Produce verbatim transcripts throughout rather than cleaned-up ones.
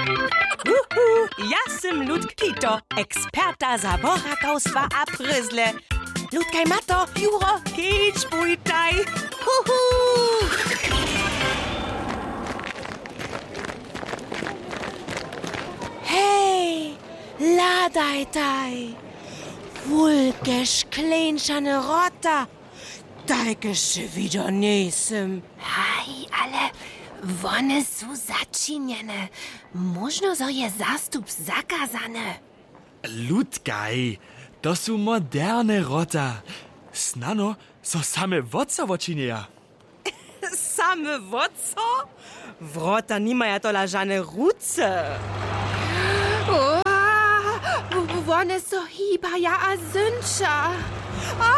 Uhu, ja sym Ludk Kito, eksperta za borakawstwa a prězle. Ludkaj, Mato, Juro, kedź, bójtaj. Uhu. Hej, hladajtaj. Wulke škleńšane wrota. Tajke sće widźał njejsym. Haj, ale wone su začinjene. Móžno, zo je zastup zakazany. Ludkaj, to su moderne wrota. Snano so same wot so wočinjeja. Same wot so? Wrota nimaja tola žane ruce. O, wone so hibaja a zynča. A,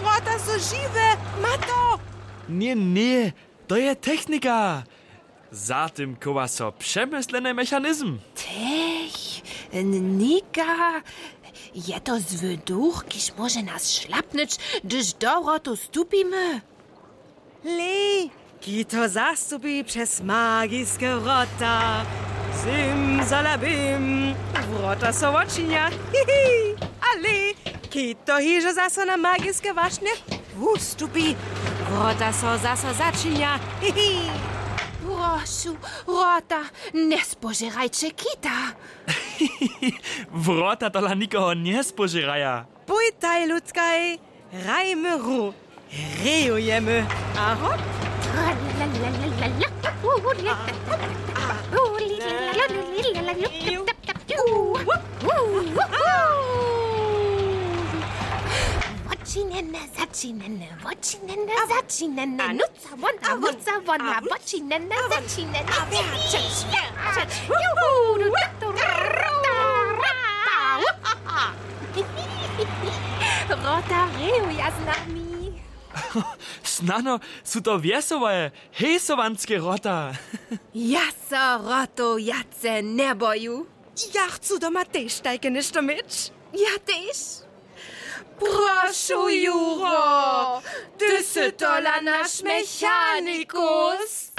wrota su žiwe, Mato! Ně, ně, to je technika. Za tym chowa so přemysleny mechanizm. Technika? Je to zły duch, kiž móže nas šlapnyć, hdyž do wrotow stupimy? Lej, Kito zastupi přez magiske wrota. Simsalabim, wrota so wočinja. Hihi. A lej, Kito hižo zaso na magiske wašnje wustupi. Wrota so zaso začinja. Hihi. Prošu, wrota, njespožěrajće Kita. Wrota tola nikoho njespožěraja. Pójtaj, Ludkaj, hrajmy hru. Hrejujemy. A hop. Wočinjene, začinjene, wočinjene, začinjene. Nuca wona, nuca wona, wočinjene, začinjene. A wjačeć, wjačeć. Juhu. Wrota hrejuja z nami. Snano su to wjesołe, hejsowanske wrota. Ja so wrotow wjace njeboju. Ja chcu doma tež tajke něšto měć. Ja tež. Prošu, Juro, ty sy tola naš mechanikus.